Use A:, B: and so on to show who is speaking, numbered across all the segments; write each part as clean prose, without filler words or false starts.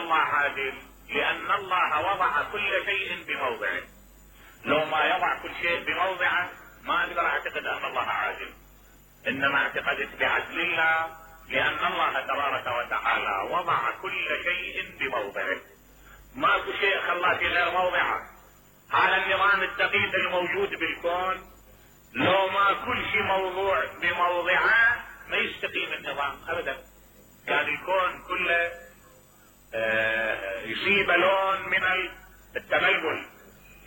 A: الله عادل؟ لان الله وضع كل شيء بموضعه. لو ما يضع كل شيء بموضعه ما اقدر اعتقد ان الله عادل. انما اعتقدت بعدل الله لان الله تبارك وتعالى وضع كل شيء بموضعه. ماكو شيء خلاه في غير موضعه. هذا النظام الدقيق الموجود بالكون لو ما كل شيء موضوع بموضعه ما يستقيم النظام ابدا. كان الكون كله يصيب لون من التبلبل.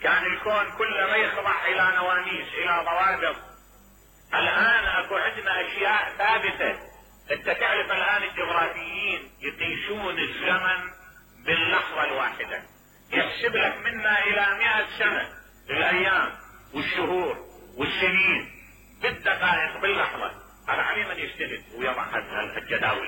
A: كان الكون كله ما يخضع الى نواميس الى ضوابط. الان اكو عندنا اشياء ثابته. انت تعرف الان الجغرافيين يقيسون الزمن باللحظه الواحده. يحسب لك منا الى 100 سنه الايام والشهور والسنين بالدقائق باللحظه. هذا عليه من يستند ويضع الجداول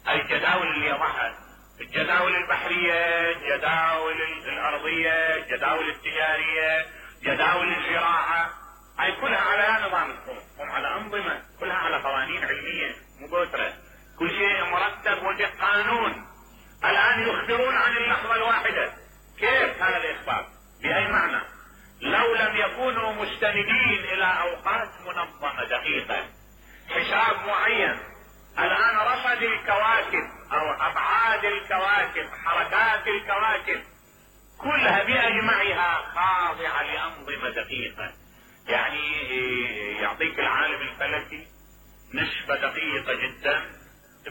A: هاي الجداول اللي يضعها، الجداول البحريه، الجداول الارضيه، الجداول التجاريه، جداول الزراعه، هاي كلها على نظام الكون، هم على انظمه، كلها على قوانين علميه مباشره، كل شيء مرتب وبقانون. الان يخبرون عن اللحظه الواحده. كيف هذا الاخبار؟ باي معنى؟ لو لم يكونوا مستندين الى اوقات منظمه دقيقه، حساب معين. الان رصد الكواكب او ابعاد الكواكب، حركات الكواكب كلها باجمعها خاضعه لانظمه دقيقه. يعني يعطيك العالم الفلكي نسبه دقيقه جدا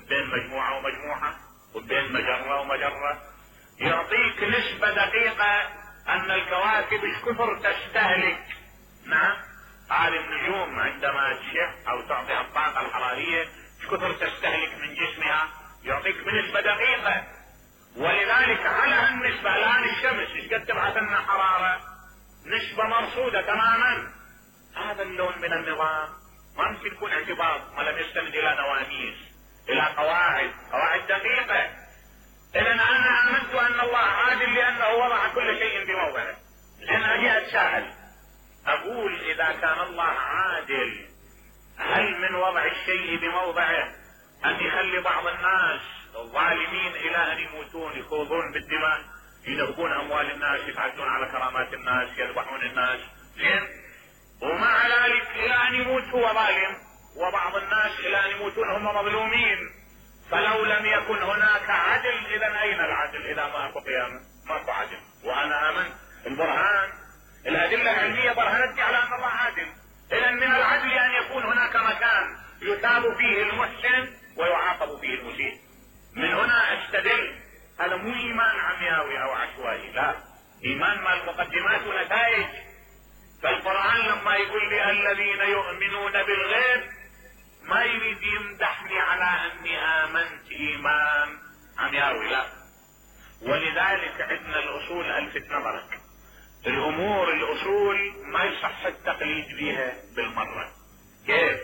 A: بين مجموعه ومجموعه وبين مجره ومجره. يعطيك نسبه دقيقه ان الكواكب ايش كثر تستهلك. نعم، هذه النجوم عندما تشع او تعطي الطاقه الحراريه ايش كثر تستهلك من جسمها، يعطيك بنسبه دقيقه. ولذلك على النسبه الان الشمس ايش قد تبعث لنا حراره؟ نسبه مرصوده تماما. هذا اللون من النظام ما ممكن يكون اعتبار ما لم يستند الى نواميس، الى قواعد دقيقه. اذا انا امنت ان الله عادل لانه وضع كل شيء بموضعه. لان اجي اتساءل اقول اذا كان الله عادل هل من وضع الشيء بموضعه ان يخلي بعض الناس الظالمين الى ان يموتون، يخوضون بالدماء، ينهبون اموال الناس، يتعدون على كرامات الناس، يذبحون الناس، زين؟ ومع ذلك الى ان يموت هو ظالم، وبعض الناس الى ان يموتون هم مظلومين. فلو لم يكن هناك عدل اذا اين العدل؟ اذا ماكو قيامه ماكو عدل. وانا امنت البرهان، الادله العلميه برهنتني على ان الله عادل. اذا من العدل ان يكون هناك مكان يثاب فيه المحسن ويعاقب فيه المسيء. من هنا استدل. هذا مو ايمان عمياوي او عشوائي، لا، ايمان مع مقدمات ونتائج. فالقرآن لما يقول لي الذين يؤمنون بالغيب ما يريد يمدحني على اني امنت ايمان عمياوي، لا. ولذلك عندنا الاصول الفت نظرك. الامور الاصول ما يصح التقليد بها بالمرة. كيف؟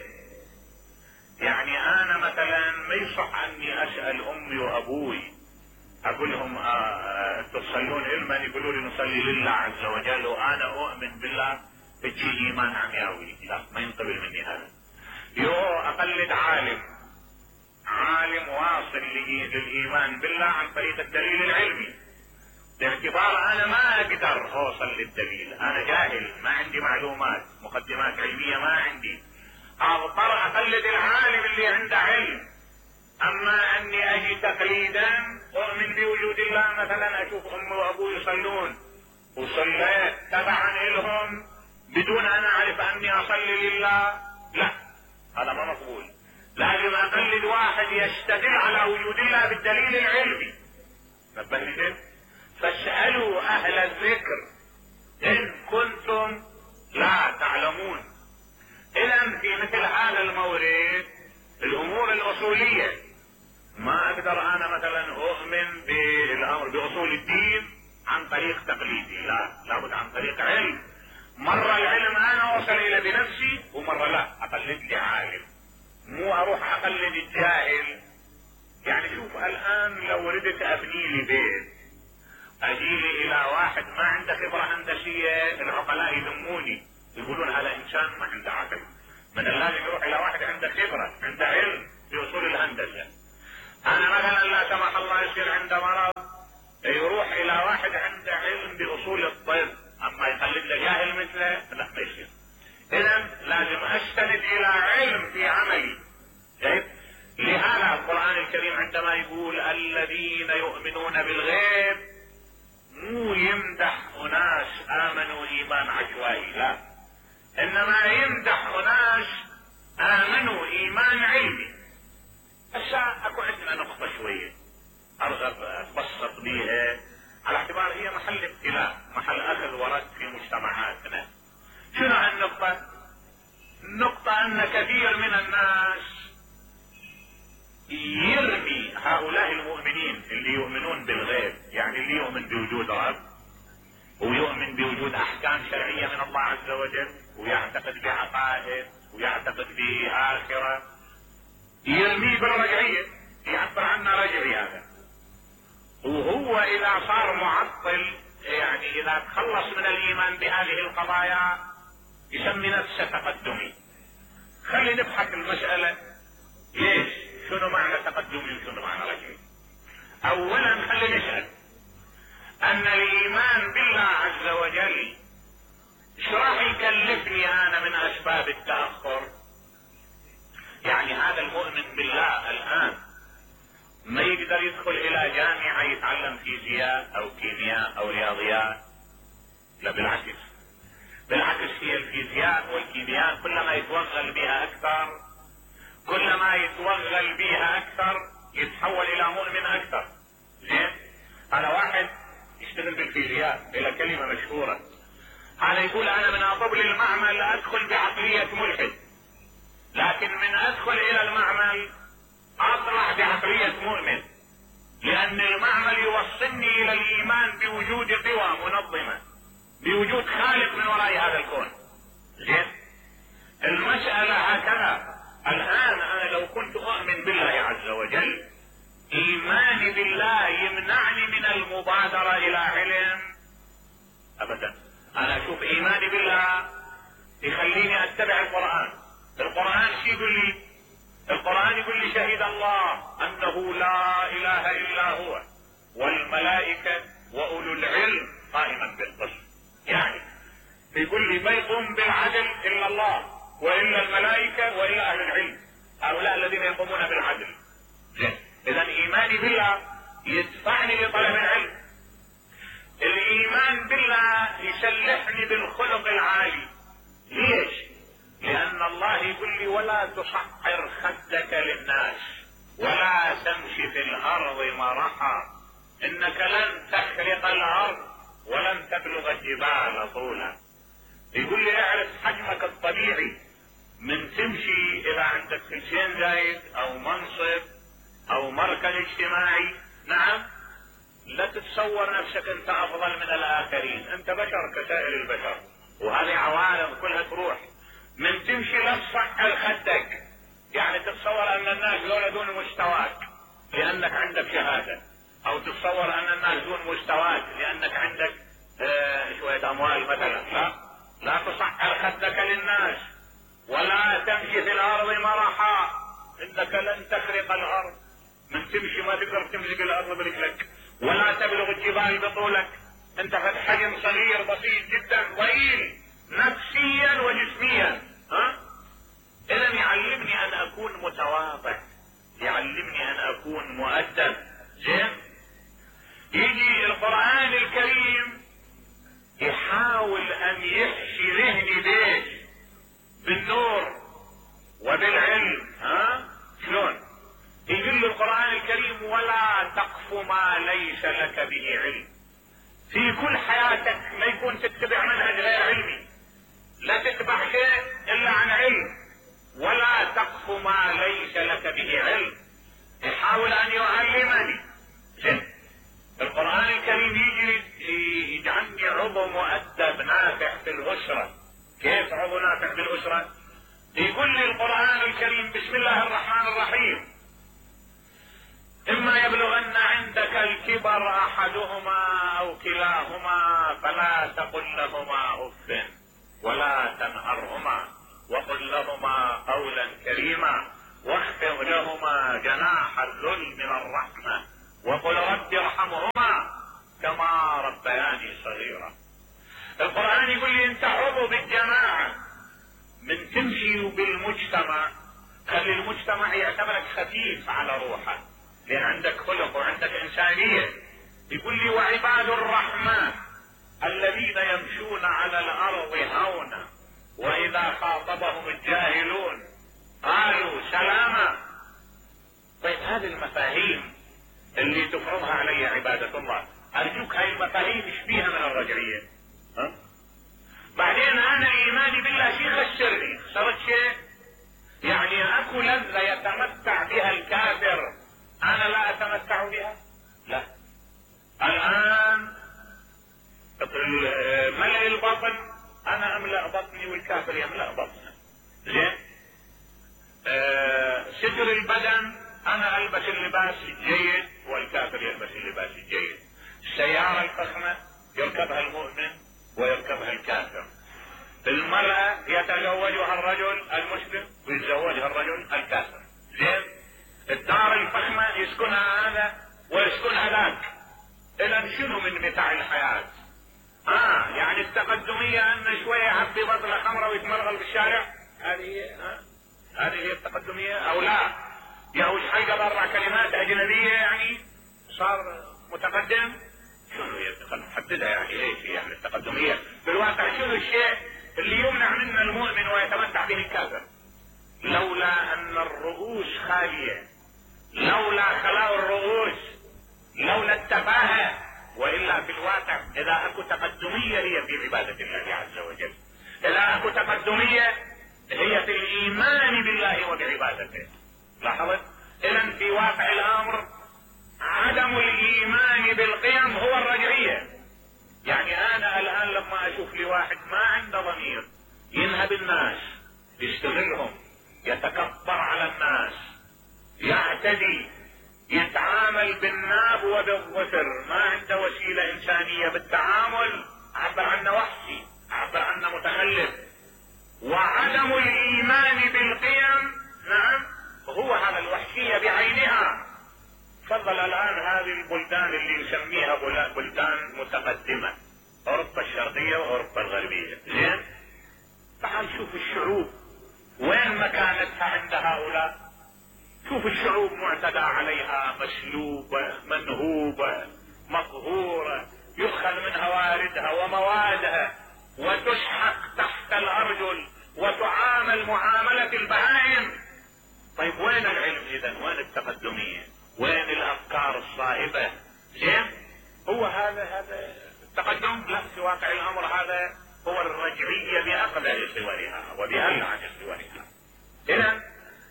A: يعني انا مثلا ما يصح اني اسأل امي وابوي اقول لهم تصلون علما، يقولوا لي نصلي لله عز وجل وانا اؤمن بالله، بتجي ايمان عمياوي، لا، ما ينقبل مني هذا. اقلد عالم واصل للايمان بالله عن طريق الدليل العلمي، باعتبار انا ما اقدر اوصل للدليل، انا جاهل ما عندي معلومات، مقدمات علمية ما عندي، اضطر اقلد العالم اللي عنده علم. اما اني اجي تقليدا اؤمن بوجود الله، مثلا اشوف امي وابوي يصلون وصليت تبعا لهم بدون ان اعرف اني اصلي لله، لا، هذا ما مقبول. لازم اقلد واحد يستدل على وجود الله بالدليل العلمي. نبهتم؟ فاسألوا اهل الذكر ان كنتم لا تعلمون. اذا في مثل هذا المورد الامور الاصولية ما اقدر انا مثلا اؤمن بالامر باصول الدين عن طريق تقليدي، لا، لابد عن طريق علم. مرة العلم انا اوصل الى بنفسي ومرة لا، اقلد لي عالم، مو اروح اقلد الجاهل. يعني شوف الان لو ردت ابني لي بيت اجيلي الى واحد ما عنده خبرة هندسية، العقلاء يذموني يقولون هذا انسان ما عنده عقل. من اللازم يروح الى واحد عنده خبرة، عنده علم باصول الهندسة. انا مثلا لا سمح الله يصير عنده مرض اذا جاهل مثله لا ما يصير. اذا لازم استند الى علم في عملي. لهذا القرآن الكريم عندما يقول الذين يؤمنون بالغيب مو يمدح اناس امنوا ايمان عشوائي، لا، انما يمدح اناس امنوا ايمان علمي. هسه اكو عندنا نقطة شوية ارغب اتبسط بيها على اعتبار هي محل ابتلاء، محل اخذ ورد في مجتمعاتنا. شنو هالنقطة؟ النقطة ان كثير من الناس يرمي هؤلاء المؤمنين اللي يؤمنون بالغيب، يعني اللي يؤمن بوجود رب ويؤمن بوجود احكام شرعية من الله عز وجل ويعتقد بعقائد ويعتقد بآخرة، يرميه بالرجعية، يعبر عنه رجعي هذا. وهو اذا صار معطل، يعني اذا تخلص من الايمان بهذه القضايا يسمي نفسه تقدمي. خلي نبحث المسألة ليش؟ شنو معنى تقدمي وشنو معنى رجعي؟ اولا خلي نسأل ان الايمان بالله عز وجل شو راح يكلفني انا من اسباب التأخر؟ يعني هذا المؤمن بالله الان ما يقدر يدخل الى جامعة يتعلم فيزياء او كيمياء او رياضيات، لا بالعكس. بالعكس هي الفيزياء والكيمياء كلما يتوغل بها اكثر، كلما يتوغل بها اكثر يتحول الى مؤمن اكثر. زين؟ هذا واحد يشتغل بالفيزياء الى كلمة مشهورة، هذا يقول انا من اطب للمعمل ادخل بعقلية ملحد، لكن من ادخل الى المعمل اطلع بعقلية مؤمن، لان المعمل يوصلني الى الايمان بوجود قوى منظمة، بوجود خالق من وراء هذا الكون. زين؟ المسألة هكذا. الان انا لو كنت اؤمن بالله عز وجل، ايماني بالله يمنعني من المبادرة الى علم؟ ابدا. انا اشوف ايماني بالله يخليني اتبع القرآن. القرآن شو يقول لي؟ القرآن يقول لي شهد الله انه لا اله الا هو والملائكة واولو العلم قائما بالقسط. يعني يقول لي ما يقوم بالعدل الا الله والا الملائكة والا اهل العلم، هؤلاء الذين يقومون بالعدل. اذا ايماني بالله يدفعني لطلب العلم. الايمان بالله يسلحني بالخلق العالي. ليش؟ لان الله يقول لي ولا تصعر خدك للناس ولا تمشي في الارض مرحا انك لن تخرق الارض ولن تبلغ الجبال طولا. يقول لي اعرف حجمك الطبيعي، من تمشي اذا عندك كلشين زايد او منصب او مركز اجتماعي، نعم، لا تتصور نفسك انت افضل من الاخرين، انت بشر كسائر البشر، وهذه عوالم كلها تروح. من تمشي لا تصعر خدك، يعني تتصور ان الناس دول دون مستواك لانك عندك شهادة، او تتصور ان الناس دون مستواك لانك عندك شوية اموال مثلا. لا تصعر خدك للناس ولا تمشي في الارض مرحا انك لن تخرق الارض. من تمشي ما تقدر تمسك الارض برجلك ولا تبلغ الجبال بطولك، انت في حجم صغير بسيط جدا ضئيل نفسيا وجسميا. اذا يعلمني ان اكون متواضع، يعلمني ان اكون مؤدب. زين؟ يجي القرآن الكريم يحاول ان يحشي ذهني بيش بالنور وبالعلم. شلون؟ يقول لي القرآن الكريم ولا تقف ما ليس لك به علم. في كل حياتك ما يكون تتبع منهج غير علمي، لا تتبع شيء الا عن علم. ولا تقف ما ليس لك به علم. يحاول ان يعلمني. القرآن الكريم يجي يجعلني عضو مؤدب نافع في الأسرة. كيف عضو نافع في الأسرة؟ يقول لي القرآن الكريم بسم الله الرحمن الرحيم إما يبلغن عندك الكبر أحدهما أو كلاهما فلا تقل لهما أف ولا تنهرهما وقل لهما قولا كريما واخفض لهما جناح الذل من الرحمة وقل رب ارحمهما كما ربياني صغيرا. القرآن يقول لي انت عضو بالجماعة، من تمشي بالمجتمع خلي المجتمع يعتبرك خفيف على روحك، لان عندك خلق وعندك انسانية. يقول لي وعباد الرحمن الذين يمشون على الارض هونا واذا خاطبهم الجاهلون قالوا سلاما. طيب هذه المفاهيم اللي تفرضها علي عبادة الله، ارجوك هاي المفاهيم ايش فيها من الرجعية؟ بعدين انا ايماني بالله شيء خسرني، خسرت شيء؟ يعني اكو لذة يتمتع بها الكافر انا لا اتمتع بها؟ لا. الان ملء البطن انا املأ بطني والكافر يملأ بطنه. زين؟ ستر البدن انا البس اللباس الجيد والكافر يلبس اللباس الجيد. السيارة الفخمة يركبها المؤمن ويركبها الكافر. المرأة يتزوجها الرجل المسلم ويتزوجها الرجل الكافر. زين؟ الدار الفخمة يسكنها هذا ويسكنها ذاك. اذا شنو من متاع الحياة؟ يعني التقدمية ان شوية يعبي بطلة خمرة ويتمرغل بالشارع، هذه هي التقدمية او لا؟ يهوش حلقة باربع كلمات اجنبية يعني صار متقدم؟ شنو هي؟ خلينا نحددها يعني ايش هي يعني التقدمية؟ بالواقع شنو الشيء اللي يمنع منا المؤمن ويتمتع به الكافر؟ لولا ان الرؤوس خالية، لولا خلاء الرؤوس، لولا التفاهة، والا في الواقع اذا اكو تقدمية هي في عبادة الله عز وجل، اذا اكو تقدمية هي في الايمان بالله وبعبادته. لاحظت؟ اذا في واقع الامر عدم الايمان بالقيم هو الرجعية. يعني انا الان لما اشوف لي واحد ما عنده ضمير ينهب الناس، يستغلهم، يتكبر على الناس، يعتدي، يتعامل بالناب وبالظفر، ما عنده وسيلة انسانية بالتعامل، اعبر عنه وحشي، اعبر عنه متخلف. وعدم الايمان بالقيم نعم هو هذا الوحشية بعينها. تفضل الان هذه البلدان اللي نسميها بلدان متقدمة، اوروبا الشرقية واوروبا الغربية. زين؟ تعال شوف الشعوب وين مكانتها عند هؤلاء. شوف الشعوب معتدى عليها، مسلوبة، منهوبة، مقهورة، يؤخذ منها واردها وموادها وتسحق تحت الارجل وتعامل معاملة البهائم. طيب وين العلم اذا؟ وين التقدمية؟ وين الافكار الصائبة؟ زين؟ هو هذا التقدم؟ لا، في واقع الامر هذا هو الرجعية باقدر صورها وبألعن صورها. اذا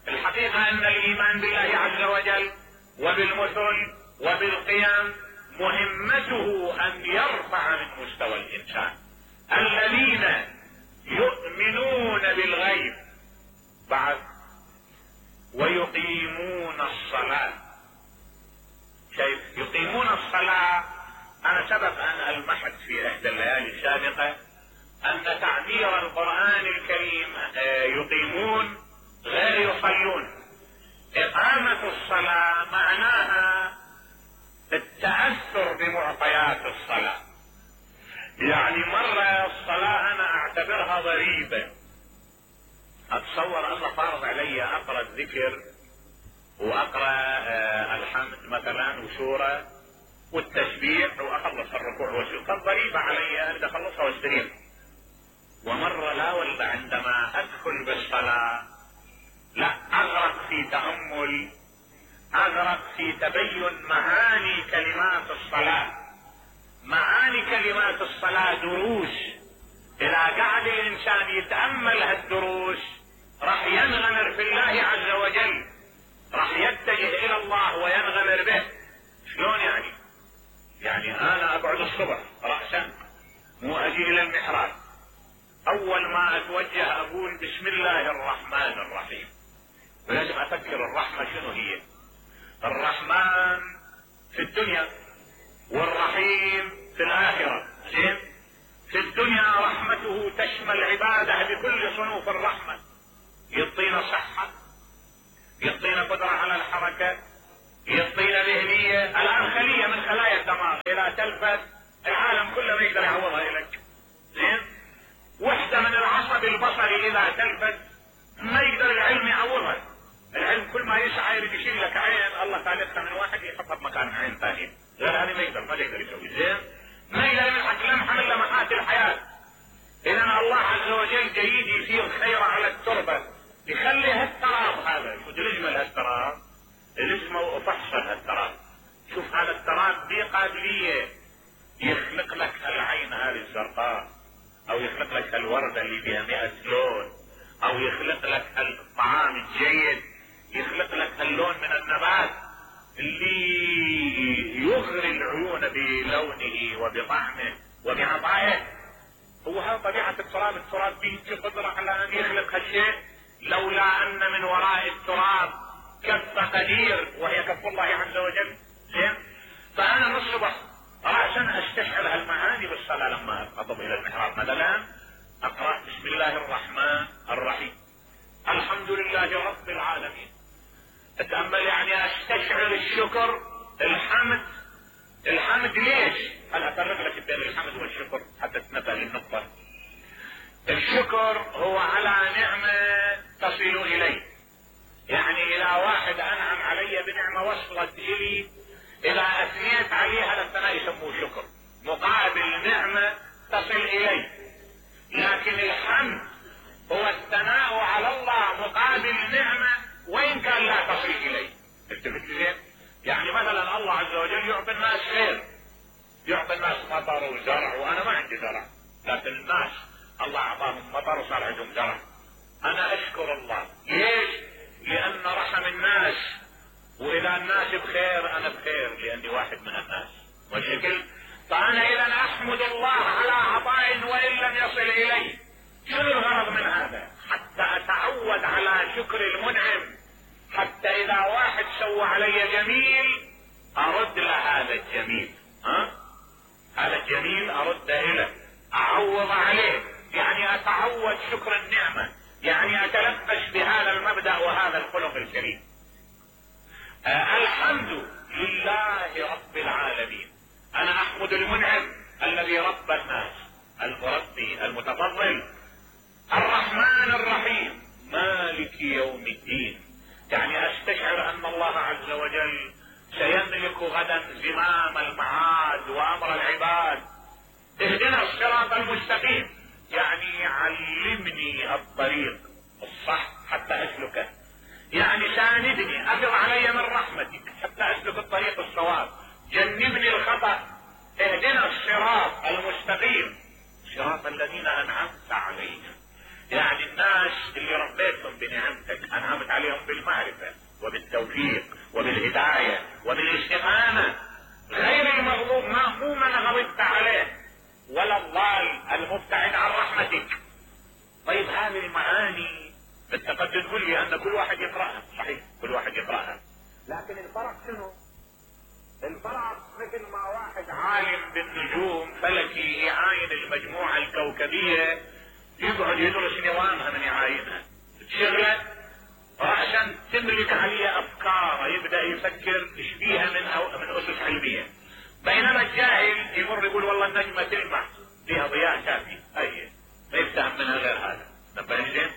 A: الحقيقة ان الايمان بالله عز وجل وبالمثل وبالقيم مهمته ان يرفع من مستوى الانسان. الذين يؤمنون بالغيب بعد ويقيمون الصلاة. شايف؟ يقيمون الصلاة. انا سبق ان المحت في احدى الليالي السابقة ان تعبير القرآن الكريم يقيمون غير يصلون. اقامة الصلاة معناها التأثر بمعطيات الصلاة. يعني مرة الصلاة انا اعتبرها ضريبة، اتصور الله فارض علي اقرأ الذكر واقرأ الحمد مثلا وسورة والتسبيح واخلص الركوع والسجود، ضريبة علي ان اخلصها واستريح. ومرة لا والله عندما ادخل بالصلاة لا اغرق في تأمل، اغرق في تبين معاني كلمات الصلاة. معاني كلمات الصلاة دروس، اذا قعد الانسان يتأمل هالدروس راح ينغمر في الله عز وجل، راح يتجه الى الله وينغمر به. شلون يعني؟ يعني انا اقعد الصبح رأسا مو اجي الى المحراب، اول ما اتوجه اقول بسم الله الرحمن الرحيم، ولازم افكر الرحمة شنو هي. الرحمن في الدنيا والرحيم في الاخرة. زين؟ في الدنيا رحمته تشمل عباده بكل صنوف الرحمة، يعطينا صحة، يعطينا قدرة على الحركة، يعطينا ذهنية. الان خلية من خلايا الدماغ اذا تلفت العالم كله ما يقدر يعوضها لك. مرض البصر اذا تلفت ما يقدر العلم يعوضها. العلم كل ما يسعى يريد يشيل لك عين، الله خالقها من واحد يحطها بمكان عين ثاني، غير هذه ما يقدر يسوي. زين ما يقدر يمحك لمحه من لمحات الحياه. اذا الله عز وجل جيد يصير خير على التربه، يخلي هالتراب هذا. شو تجمل هالتراب؟ اسمه فحص هالتراب. شوف هذا التراب به قابليه يخلق لك العين هذه الزرقاء، او يخلق لك الوردة اللي بها 100 لون، او يخلق لك الطعام الجيد، يخلق لك اللون من النبات اللي يغري العيون بلونه وبطعمه وبعطائه. هو هذا طبيعة التراب. التراب به قدرة على ان يخلق هالشيء، لولا ان من وراء التراب كف قدير وهي كف الله عز وجل. زين فانا من الصبح رأسا استشعر هالمعاني بالصلاة لما اخطب الى المحراب. مثلا اقرأ بسم الله الرحمن الرحيم الحمد لله رب العالمين. اتأمل يعني استشعر الشكر الحمد. الحمد ليش؟ هل افرق لك بين الحمد والشكر حتى تنبه للنقطة. الشكر هو على نعمة تصل الي، يعني اذا واحد انعم علي بنعمة وصلت الي، اذا اثنيت عليها الثناء يسموه شكر، مقابل نعمة تصل الي. لكن الحمد هو الثناء على الله مقابل نعمة وان كان لا تصل الي. التفت زين؟ يعني مثلا الله عز وجل يعطي الناس خير، يعطي الناس مطر وزرع، وانا ما عندي زرع، لكن الناس الله اعطاهم مطر وصار عندهم زرع. انا اشكر الله. ليش؟ لان رحم الناس، واذا الناس بخير انا بخير لاني واحد من الناس. والشكل فانا اذا احمد الله على عطاء وان لم يصل الي. شنو الغرض من هذا؟ حتى اتعود على شكر المنعم، حتى اذا واحد سوى علي جميل ارد له هذا الجميل. هذا الجميل ارد له، اعوض عليه، يعني اتعود شكر النعمة، يعني اتلبس بهذا المبدأ وهذا الخلق الكريم. الحمد لله رب العالمين. انا احمد المنعم الذي رب الناس، المربي المتفضل. الرحمن الرحيم مالك يوم الدين، يعني استشعر ان الله عز وجل سيملك غدا زمام المعاد وامر العباد. اهدنا الصراط المستقيم، يعني علمني الطريق الصح حتى اسلكه، يعني ساندني، افض علي من رحمتك حتى اسلك الطريق الصواب، جنبني الخطأ. اهدنا الصراط المستقيم صراط الذين انعمت عليهم، يعني الناس اللي ربيتهم بنعمتك، انعمت عليهم بالمعرفة وبالتوفيق وبالهداية وبالاستقامة، غير المغضوب مو من غضبت عليه ولا الضال المبتعد عن رحمتك. طيب هذه المعاني انت قد تقول لي ان كل واحد يقرأها، صحيح كل واحد يقرأها، لكن الفرق شنو؟ الفرق مثل ما واحد عالم بالنجوم فلكي يعاين المجموعة الكوكبية، يقعد يدرس نظامها من يعاينها، تشغله رأسا تملك عليه افكار، يبدأ يفكر ايش فيها من اسس علمية. بينما الجاهل يمر يقول والله النجمة تلمع فيها ضياء كافي، اي ما يفتهم منها غير هذا. نبهني زين؟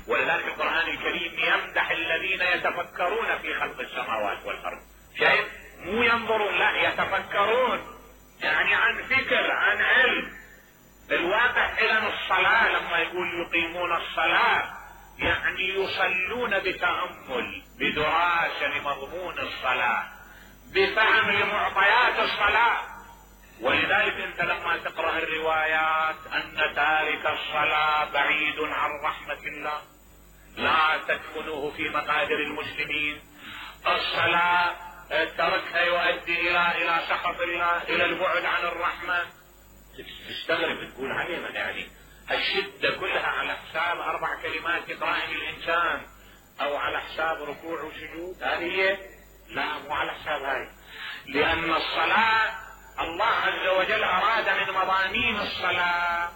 A: ولذلك القرآن الكريم يمدح الذين يتفكرون في خلق السماوات والارض. شايف؟ مو ينظرون، لا يتفكرون، يعني عن فكر، عن علم. الواقع اذا الصلاة لما يقول يقيمون الصلاة يعني يصلون بتأمل، بدراسة لمضمون الصلاة، بفهم لمعطيات الصلاة. ولذلك انت لما تقرأ الروايات ان تارك الصلاة بعيد عن رحمة الله، لا تدفنوه في مقادر المسلمين. الصلاة تركها يؤدي الى سخط الله، الى البعد عن الرحمة. تستغرب تقول عليه من يعني الشدة كلها على حساب 4 كلمات يقرأها الانسان، او على حساب ركوع وسجود؟ هذه لا، مو على حساب هاي. لان الصلاة الله عز وجل اراد من مضامين الصلاة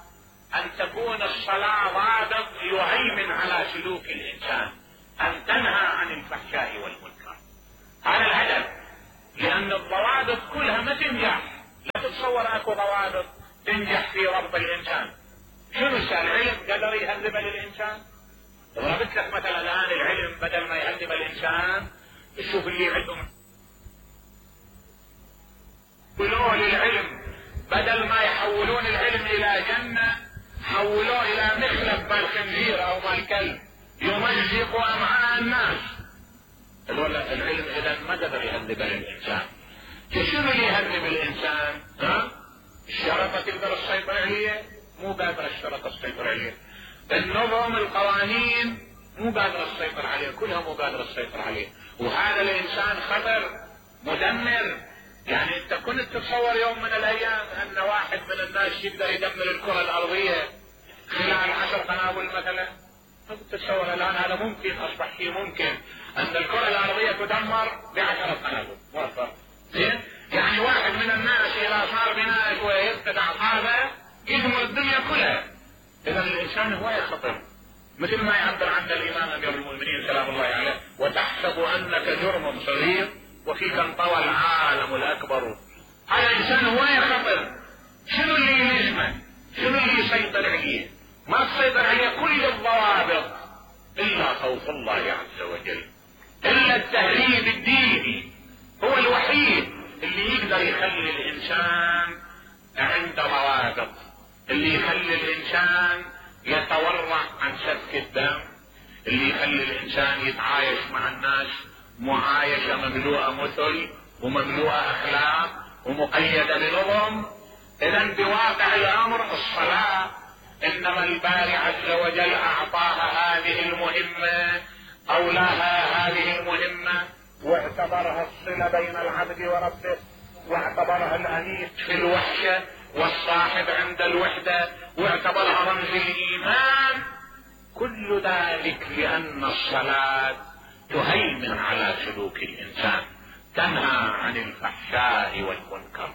A: ان تكون الصلاة ضابط يهيمن على سلوك الانسان، ان تنهى عن الفحشاء والمنكر. هذا الهدف. لان الضوابط كلها ما تنجح، لا تتصور اكو ضوابط تنجح في ربط الانسان. شنو العلم قدر يهذب للانسان؟ ضربت لك مثلا الان العلم بدل ما يهذب الانسان، تشوف اللي عندهم يحولوه للعلم، بدل ما يحولون العلم الى جنة حولوه الى مخلب بالخنزير او بالكلب يمزق امعاء الناس. العلم اذا ما قدر يهذب الانسان. شنو اللي يهذب الانسان؟ الشرطة تقدر تسيطر عليه؟ مو قادرة الشرطة تسيطر عليه. النظم القوانين مو قادرة تسيطر عليه، كلها مو قادرة تسيطر عليه. وهذا الانسان خطر مدمر. يعني انت كنت تتصور يوم من الايام ان واحد من الناس يقدر يدمر الكرة الارضية خلال 10 قنابل مثلا؟ ما كنت تتصور. الان هذا ممكن، اصبح شيء ممكن ان الكرة الارضية تدمر ب10 قنابل. زين؟ يعني واحد من الناس اذا صار بناء كويس هذا يدمر الدنيا كلها. اذا الانسان هو خطر، مثل ما يعبر عنه الامام امير المؤمنين سلام الله عليه: وتحسب انك جرم صغير وفيك انطوى العالم الاكبر. هذا الانسان هو خطر. شنو اللي يلزمه؟ شنو اللي يسيطر عليه؟ ما تسيطر عليه كل الضوابط الا خوف الله عز وجل، الا التهريب الديني هو الوحيد اللي يقدر يخلي الانسان عنده ضوابط، اللي يخلي الانسان يتورع عن سفك الدم، اللي يخلي الانسان يتعايش مع الناس معايشة مملوءة مثل ومملوءة اخلاق ومقيدة بنظم. اذا بواقع الامر الصلاة انما الباري عز وجل اعطاها هذه المهمة، اولاها هذه المهمة، واعتبرها الصلة بين العبد وربه، واعتبرها الانيس في الوحشة والصاحب عند الوحدة، واعتبرها رمز الايمان. كل ذلك لان الصلاة تهيمن على سلوك الانسان، تنهى عن الفحشاء والمنكر.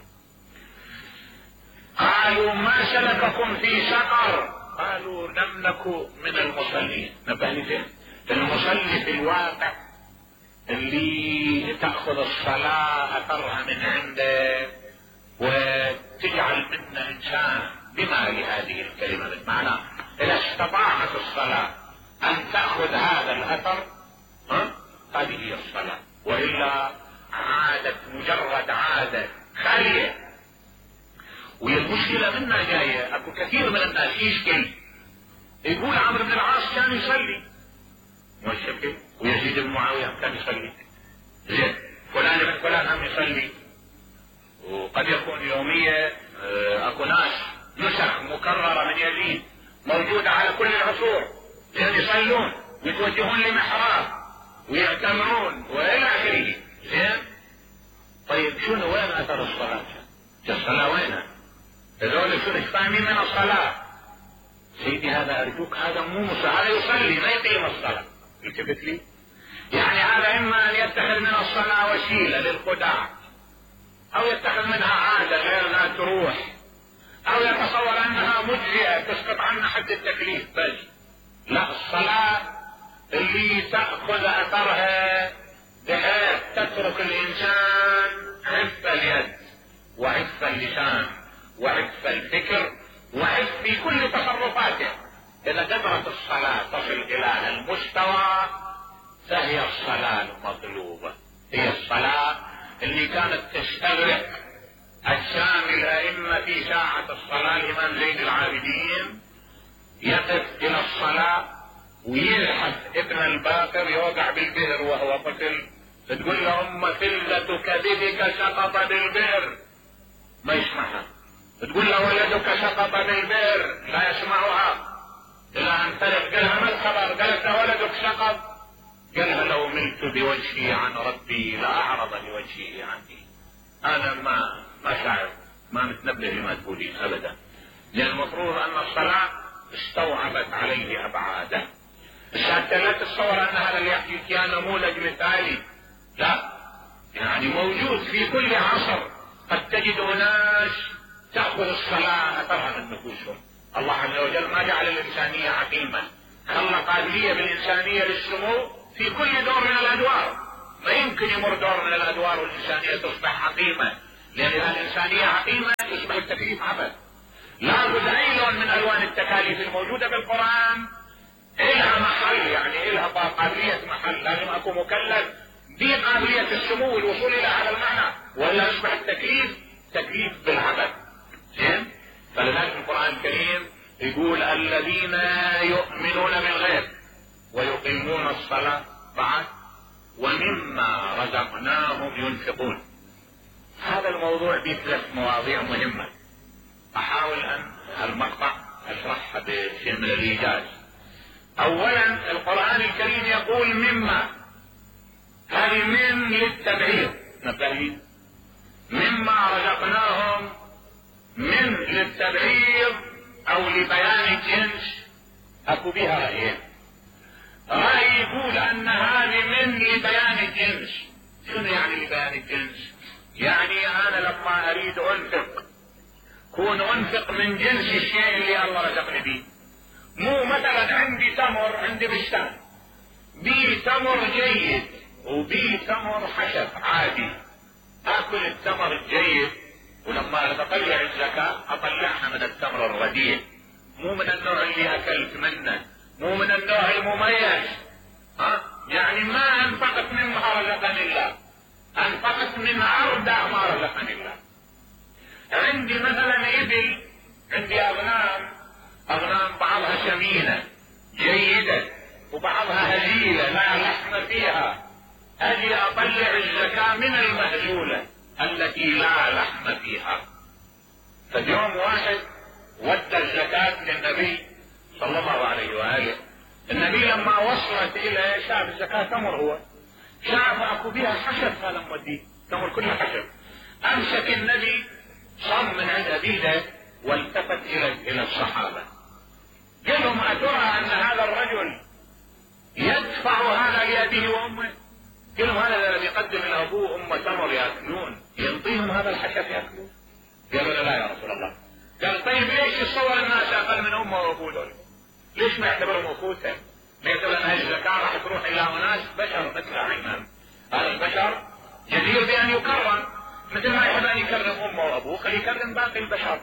A: قالوا ما سلككم في سقر؟ قالوا لم نكن من المصلين. نبهني فين؟ المصلي في الواقع اللي تأخذ الصلاة اثرها من عنده وتجعل منا انسان بما لهذه الكلمة من معنى. اذا استطاعت الصلاة ان تأخذ هذا الاثر هذه هي الصلاة، وإلا عادت مجرد عادة خالية. والمشكلة منا جاية، اكو كثير من الناس يشكل يقول عمرو بن العاص كان يصلي، والشكل ويزيد بن معاوية كان يصلي، زين فلان بن فلان هم يصلي. وقد يكون يومية اكو ناس نسخ مكررة من يزيد موجودة على كل العصور، لأن يصلون ويتوجهون لمحراب ويعتمرون والى اخره. زين طيب شنو وين اثر الصلاة؟ الصلاة وينها؟ هذول شنو فاهمين من الصلاة؟ سيدي هذا ارجوك، هذا مو مصلي، هذا يصلي ما يقيم الصلاة. التفت لي؟ يعني هذا اما ان يتخذ من الصلاة وسيلة للخداع، او يتخذ منها عادة غير لا تروح، او يتصور انها مجزئة تسقط عنها حد التكليف بس. لا، الصلاة اللي تأخذ اثرها بحيث تترك الانسان عف اليد وعف اللسان وعف الفكر وعف في كل تصرفاته. اذا قدرت الصلاة تصل الى المستوى فهي الصلاة المطلوبة، هي الصلاة اللي كانت تستغرق اجسام الائمة في ساعة الصلاة. الامام زين العابدين يقف الى الصلاة ويلحق ابن الباقر يوقع بالبئر وهو طفل، تقول له ام فلة كبدك سقط بالبئر ما يسمعها، تقول له ولدك سقط بالبئر لا يسمعها، الى ان فرق قالها ما الخبر؟ قالت له ولدك سقط، قالها لو ملت بوجهي عن ربي لاعرض بوجهه عني. انا ما شاعر، ما متنبه لما تقولين ابدا، لان المفروض ان الصلاة استوعبت عليه ابعاده. حتى لا تتصور ان هذا اللي يحكي كان نموذج مثالي، لا، يعني موجود في كل عصر. قد تجد ناس تأخذ الصلاة اثرها من نفوسهم. الله عز وجل ما جعل الانسانية عقيمة، خلى قابلية بالانسانية للسمو في كل دور من الادوار. ما يمكن يمر دور من الادوار والانسانية تصبح عقيمة، لان اذا الانسانية عقيمة يصبح التكليف عبث. لابد اي لون من الوان التكاليف الموجودة في القرآن الها محل، يعني الها قابلية محل، لازم اكو مكلف بقابلية السمو والوصول الى هذا المعنى، ولا يصبح التكليف تكليف بالعبث. زين؟ فلذلك القرآن الكريم يقول الذين يؤمنون بالغيب ويقيمون الصلاة بعد ومما رزقناهم ينفقون. هذا الموضوع بثلاث مواضيع مهمة، احاول ان المقطع اشرحها بشيء من الايجاز. اولا القرآن الكريم يقول مما، هذه من للتبعيض، نبهين مما رزقناهم من للتبعيض او لبيان الجنس. اكو بها رأيين، رأي يقول ان هذه من لبيان الجنس. شنو يعني لبيان الجنس؟ يعني انا لما اريد انفق كون انفق من جنس الشيء اللي الله رزقني به. مو مثلا عندي تمر، عندي بستان بي تمر جيد وبي تمر حشف عادي، اكل التمر الجيد ولما اطلع الزكاة اطلعها من التمر الرديء، مو من النوع اللي اكلت منه، مو من النوع المميز. يعني ما انفقت مما رزقني الله، انفقت من اردع ما رزقني الله. عندي مثلا ابل، عندي اغنام بعضها سمينة جيدة وبعضها هزيلة لا لحم فيها، اجي اطلع الزكاة من المهزولة التي لا لحم فيها. فاليوم واحد ودى الزكاة للنبي صلى الله عليه وآله، النبي لما وصلت الى شاف الزكاة تمر، هو شاف اكو بها حشف، هذا موديه تمر كلها حشف. امسك النبي صم من عند ابيده والتفت الى الصحابة قال لهم اترى ان هذا الرجل يدفع هذا لابيه وامه؟ قال لهم هذا الذي يقدم لابوه وامه تمر ياكلون ينطيهم هذا الحشف ياكلون؟ قالوا لا يا رسول الله. قال طيب ليش يصور الناس اقل من امه وابوه دول؟ ليش ما يعتبرهم اخوته؟ ما يعتبر ان هذه الزكاة راح تروح الى اناس بشر مثل عينان، هذا البشر جدير بان يكرم، مثل ما يحب ان يكرم امه وابوه خليه يكرم باقي البشر،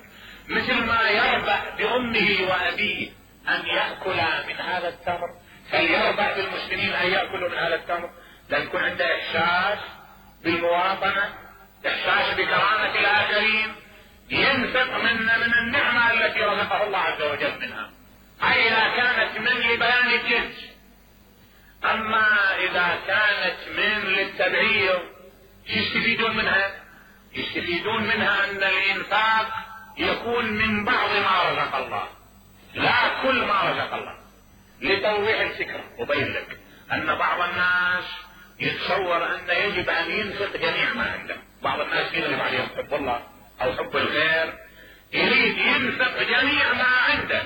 A: مثل ما يربح بامه وابيه ان ياكل من هذا التمر فليربح بالمسلمين ان ياكلوا من هذا التمر. لان يكون عنده احساس بالمواطنة، احساس بكرامة الاخرين، ينفق من النعمة التي رزقه الله عز وجل منها. هاي اذا كانت من لبيان الجنس. اما اذا كانت من للتبعيض يستفيدون منها؟ يستفيدون منها ان الانفاق يكون من بعض ما رزق الله لا كل ما رزق الله. لتوضيح الفكرة وبين لك ان بعض الناس يتصور ان يجب ان ينفق جميع ما عنده. بعض الناس يغلب عليهم حب الله او حب الخير، يريد ينفق جميع ما عنده.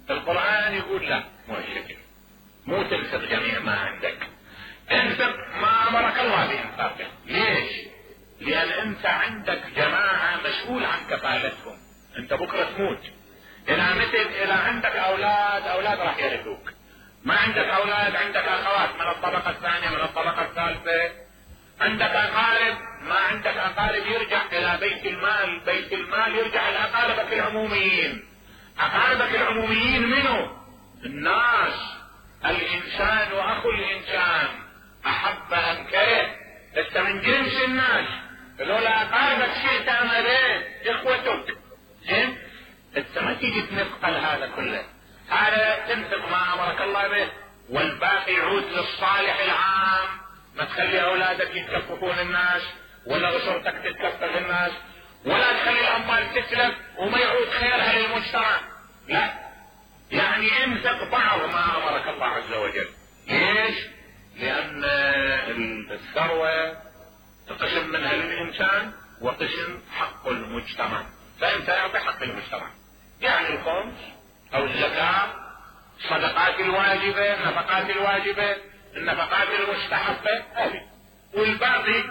A: القرآن يقول لا، مو الشكل، مو تنفق جميع ما عندك، انفق ما امرك الله بانفاقه. ليش؟ لان انت عندك جماعة مسؤول عن كفالتهم، انت بكرة تموت. اذا عندك اولاد راح يرثوك، ما عندك اولاد عندك اخوات من الطبقة الثانية من الطبقة الثالثة، عندك اقارب، ما عندك اقارب يرجع الى بيت المال، بيت المال يرجع الى اقاربك العموميين. اقاربك العموميين منه؟ الناس، الانسان واخو الانسان، احب ام كره، انت من جنس الناس، لولا اقاربك شئت ام ابيت اخوتك. زين؟ انت ما تيجي تنفقل هذا كله، هذا تنفق ما امرك الله به والباقي يعود للصالح العام. ما تخلي اولادك يتكففون الناس ولا اسرتك تتكفف الناس، ولا تخلي الاموال تتلف وما يعود خيرها للمجتمع. لا، يعني انفق بعض ما امرك الله عز وجل. ليش؟ لان الثروة قسم منها للانسان وقسم حق المجتمع، فانت اعطي حق المجتمع، يعني الخمس او الزكاة، الصدقات الواجبة، النفقات الواجبة، النفقات المستحبة هذه، والباقي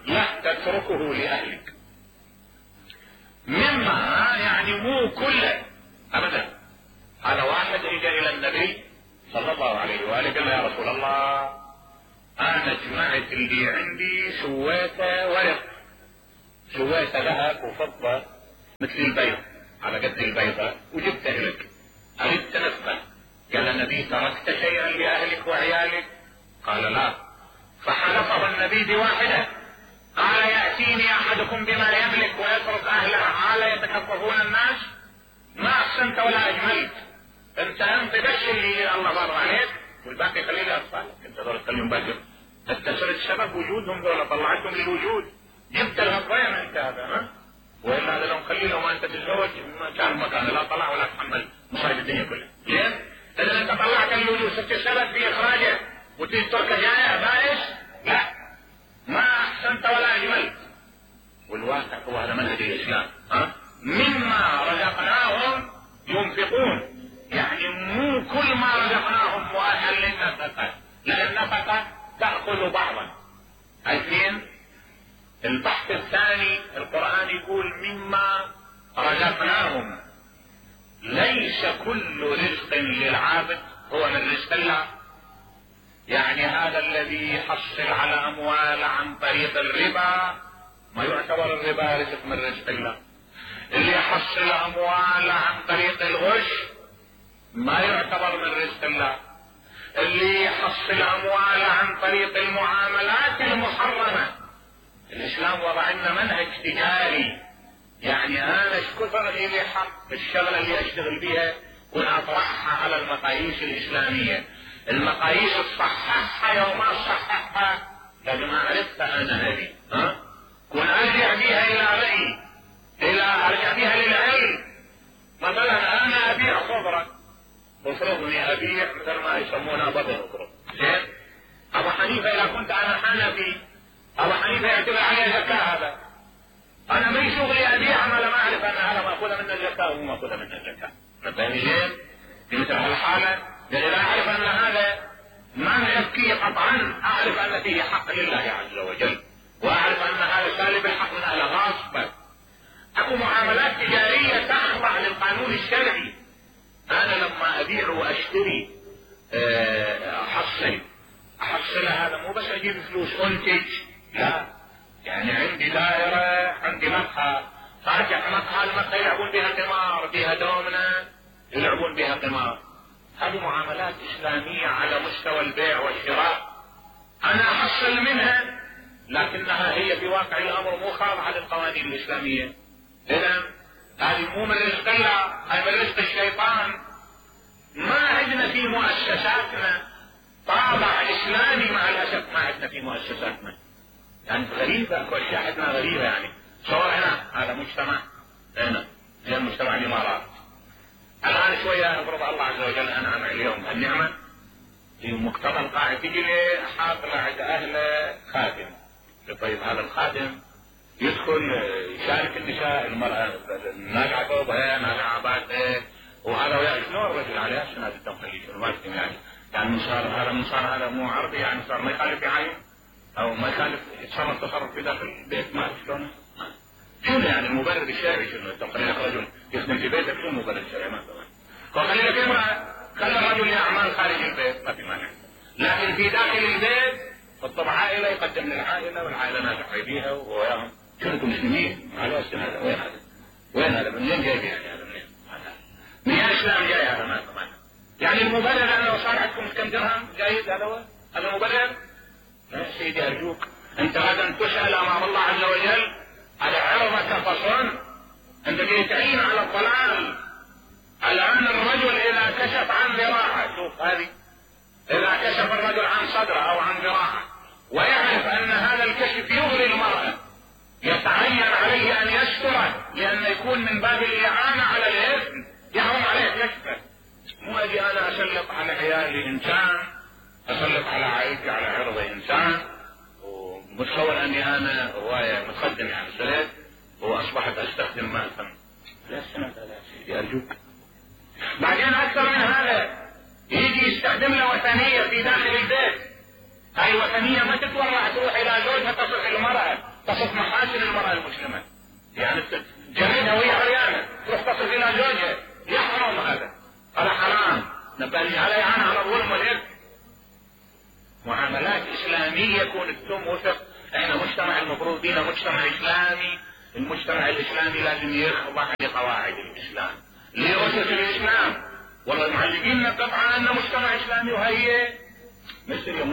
A: لا تتركه لأهلك. مما يعني مو كله ابدا. هذا واحد اجى الى النبي صلى الله عليه وآله قال يا رسول الله انا جمعت اللي عندي سويته ورق، سويته ذهب وفضة مثل البيض على قد البيضة وجبت لك، أردت نفقة. قال النبي تركت شيئا لأهلك وعيالك؟ قال لا. فحلفه النبي بواحدة، قال يأتيني أحدكم بما يملك ويترك أهله على يتكففون الناس؟ ما أحسنت ولا أجملت. أنت بس اللي الله بارك عليك والباقي خليه لأطفالك. أنت دول تخليهم باكر، أنت صرت سبب وجودهم، دول طلعتهم للوجود، جبت الغطين أنت هذا. ها؟ وإلا هذا لو خليه لو ما أنت تتزوج ما كان مكان لا طلع ولا تحمل مصايب الدنيا كلها. ليه؟ إذا أنت طلعت للوجود صرت سبب في إخراجه وتتركه جائع بائس؟ لا، ما أحسنت ولا أجملت. والواقع هو هذا منهج الإسلام. مما رزقناهم ينفقون، يعني مو كل ما رزقناهم مؤهل للنفقة، لأن النفقة تأخذ بعضا. عارفين؟ البحث الثاني القرآن يقول مما رزقناهم، ليس كل رزق للعابد هو من رزق الله. يعني هذا الذي يحصل على أموال عن طريق الربا ما يعتبر الربا رزق من رزق الله. اللي يحصل أموال عن طريق الغش ما يعتبر من رزق الله. اللي يحصل أموال عن طريق المعاملات المحرمة، الإسلام وضع لنا منهج تجاري. يعني أنا كثر لي حق الشغلة اللي أشتغل بها وأطرحها على المقاييس الإسلامية. المقاييس تصححها يوم ما تصححها لازم أعرفها أنا هذه. كون أرجع بها إلى رأيي، أرجع بها للعلم. مثلا أنا أبيع خضرة، مفروضني أبيع مثل ما يسمونها بطن خضرة. زين؟ أبو حنيفة إذا كنت أنا حنفي، أبو حنيفة يعتبر عليه زكاة. هذا أنا ما شغلي أبيع ما لم أعرف أن هذا مأخوذ من الزكاة ومو مأخوذ من الزكاة. فاهمين زين؟ في مثل هالحالة إذا أعرف أن هذا ما يزكي قطعا، أعرف أن فيه حق لله عز وجل، وأعرف أن هذا سالب الحق من أهل غاصبا. أكو معاملات تجارية تخضع للقانون الشرعي. أنا لما أبيع وأشتري أحصل هذا مو بس أجيب فلوس أنتج، لا، يعني عندي دائرة، عندي مقهى، فارجع مقهى، المقهى يلعبون بها قمار، بها دومنة يلعبون بها قمار. هذه معاملات إسلامية على مستوى البيع والشراء، أنا أحصل منها، لكنها هي في واقع الأمر مو خاضعة للقوانين الإسلامية. إذا هذه مو من رزق الله، هذه من رزق الشيطان. ما عندنا في مؤسساتنا طابع إسلامي مع الأسف، ما عندنا في مؤسساتنا. يعني غريبة، اكو اشياء عندنا غريبة. يعني صور هنا هذا مجتمع هنا زي مجتمع الامارات. الان شوية افرض الله عز وجل انعم اليوم النعمة في مقتضى القاعد تجي لي حاضر عند اهله خادم. طيب هذا الخادم يدخل يشارك النساء، المرأة ناقعة ثوبها، ناقعة بعدها، وهذا ويا شنو الرجل عليه هذا التمخليج المسلم. يعني صار هذا مو عربي، يعني صار ما يخالف بعين او ما يخالف يتصرف تصرف في داخل البيت. ما شلون شنو يعني المبرر الشرعي؟ شنو انت خلي لك رجل يخدم في بيتك، شنو المبرر الشرعي؟ ما طبعا. وخلي لك امرأة، خلي الرجل يعمل خارج البيت ما في مانع، لكن في داخل البيت الطبع عائلة يقدم للعائلة والعائلة ناجحة بيها وياهم. شنو انتم مسلمين؟ على اسم هذا وين هذا؟ وين هذا؟ منين جاي يعني هذا؟ من الاسلام جاي هذا؟ ما طبعا. يعني المبرر انا لو صار عندكم كم درهم جايز هذا المبرر؟ يا سيدي أرجوك، أنت غدا تسأل أمام الله عز وجل على عرضك فصن، أنت جاي تعين على الضلال. الآن الرجل إذا كشف عن ذراعه، شوف هذه، إذا كشف الرجل عن صدره أو عن ذراعه ويعرف أن هذا الكشف يغري المرأة، يتعين عليه أن يستره، لأن يكون من باب الإعانة على الإثم، يحرم عليه يكشفه. مو أجي أنا أسلط على عيالي إنسان، أسلط على عائلتي على عرض إنسان، ومتصور أني أنا هواية متقدم يعني سليت وأصبحت أستخدم ما أفهم. لا سنة لا سيدي أرجوك. بعدين أكثر من هذا يجي يستخدم له وثنية في داخل البيت. هاي الوثنية ما تتورع تروح إلى زوجها تصف المرأة، تصف محاسن المرأة المسلمة. يعني جميلها وهي عريانة تروح تصف إلى زوجها، يحرم هذا حرام. نبني على إعانة على الظلم والإثم. معاملات إسلامية كون التم وثق. احنا مجتمع المفروض بينا مجتمع إسلامي المجتمع الاسلامي لازم يخضع لقواعد الاسلام، لأسس الاسلام. والله المعلقين نقطع ان مجتمع اسلامي وهي مثل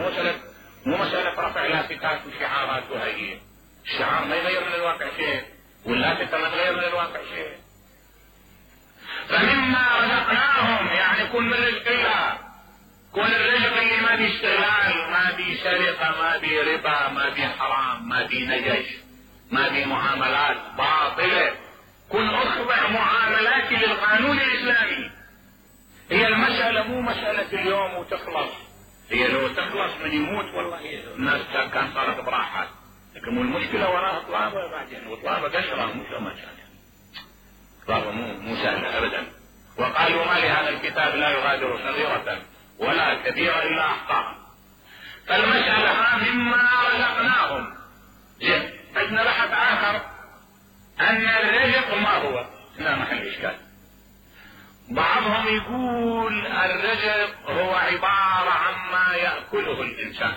A: مو مسألة رفع لافتات وشعارات وهي الشعار ما يغير من الواقع شيء، واللافتة ما تغير من الواقع شيء. فمما رزقناهم يعني كن من رزق الله، كن الرزق اللي ما بي استغلال، ما بي سرقة، ما بي ربا، ما بي حرام، ما بي نجش، ما بي معاملات باطلة. كن اخضع معاملاتي للقانون الاسلامي. هي المسألة مو مسألة اليوم وتخلص، هي لو تخلص من يموت والله الناس كان صارت براحات، لكن المشكلة وراها طلابة بعدين، وطلابة قشرة مو ما كان طلابة مو سهلة ابدا. وقالوا ما لهذا الكتاب لا يغادر صغيرة ولا كبيرة الا احصاها. فالمسألة مما رزقناهم. عندنا بحث اخر ان الرزق ما هو، لا محل اشكال. بعضهم يقول الرزق هو عبارة عما يأكله الانسان،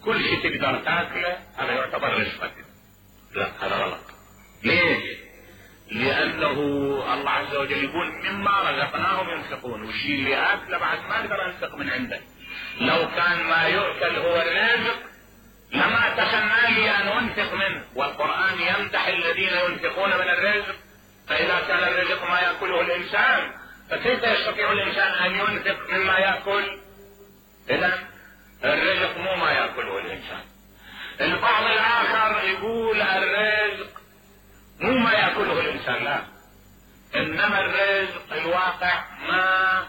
A: كل شيء تقدر تاكله هذا يعتبر رزقك. لا هذا غلط. ليش؟ لانه الله عز وجل يقول مما رزقناهم ينفقون، والشيء اللي اكله بعد ما اقدر انفق من عنده. لو كان ما يؤكل هو الرزق لما تسنى لي ان انفق منه، والقرآن يمدح الذين ينفقون من الرزق. فاذا كان الرزق ما يأكله الانسان فكيف يستطيع الانسان ان ينفق مما يأكل؟ اذا الرزق مو ما يأكله الانسان. البعض الاخر يقول الرزق مو ما يأكله الانسان، لا، انما الرزق الواقع ما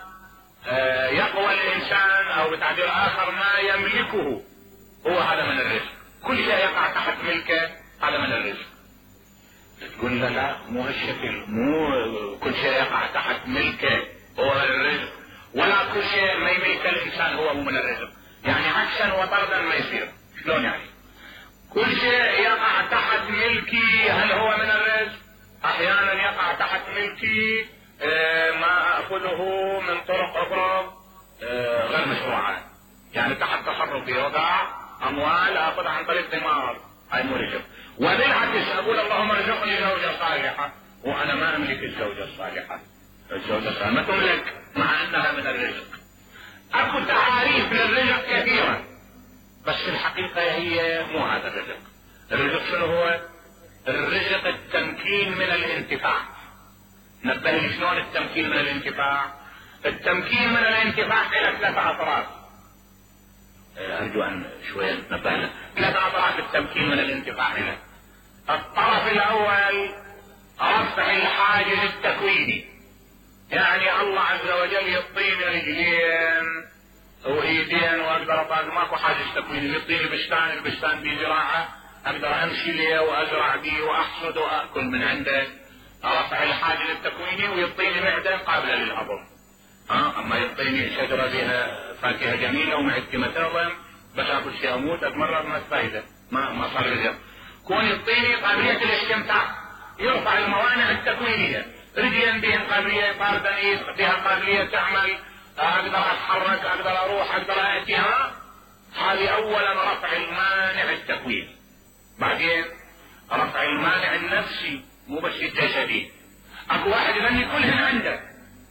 A: يقوى الانسان، او بتعبير اخر ما يملكه، هو هذا من الرزق. كل شيء يقع تحت ملكه هذا من الرزق. تقول لا مو هالشكل، مو كل شيء يقع تحت ملكه هو من الرزق، ولا كل شيء ما يملك الانسان هو من الرزق. يعني عكسا وطردا ما يصير. شلون يعني؟ كل شيء يقع تحت ملكي هل هو من الرزق؟ احيانا يقع تحت ملكي ما اخذه من طرق اخرى غير مشروعه، يعني تحت تصرفي وقع اموال اخذها عن طريق ثمار، هاي مو رزق. وبالعكس اقول اللهم ارزقني زوجة صالحة وانا ما املك الزوجة الصالحة. الزوجة الصالحة ما تملك مع انها من الرزق. اكو تعاريف للرزق كثيرة، بس الحقيقة هي مو هذا الرزق. الرزق شنو هو؟ الرزق التمكين من الانتفاع. نبه لي شلون التمكين من الانتفاع؟ التمكين من الانتفاع الى 3 اطراف. ارجو ان شوية نبهنا 3 اطراف التمكين من الانتفاع له. الطرف الاول رفع الحاجز التكويني، يعني الله عز وجل يعطيني رجلين وايدين واقدر اطاق، ماكو حاجز تكويني، يعطيني بستان، البستان بيه زراعة اقدر امشي ليه وازرع بيه واحصد واكل من عنده. رفع الحاجز التكويني، ويعطيني معدة قابلة للهضم. اما يعطيني شجرة بها فاكهة جميلة ومعدتي متهضم بس اكل شيء اموت اتمرض ما فايدة، ما صار رزق. كون يعطيني قابلية الاستمتاع، يرفع الموانع التكوينية، رجلين بهم قابلية طاردة، ايد بها قابلية تعمل، اقدر اتحرك، اقدر اروح، اقدر اتي. هذه اولا رفع المانع التكويني. بعدين رفع المانع النفسي مو بس الجسدي. اكو واحد يغني كلهن عنده،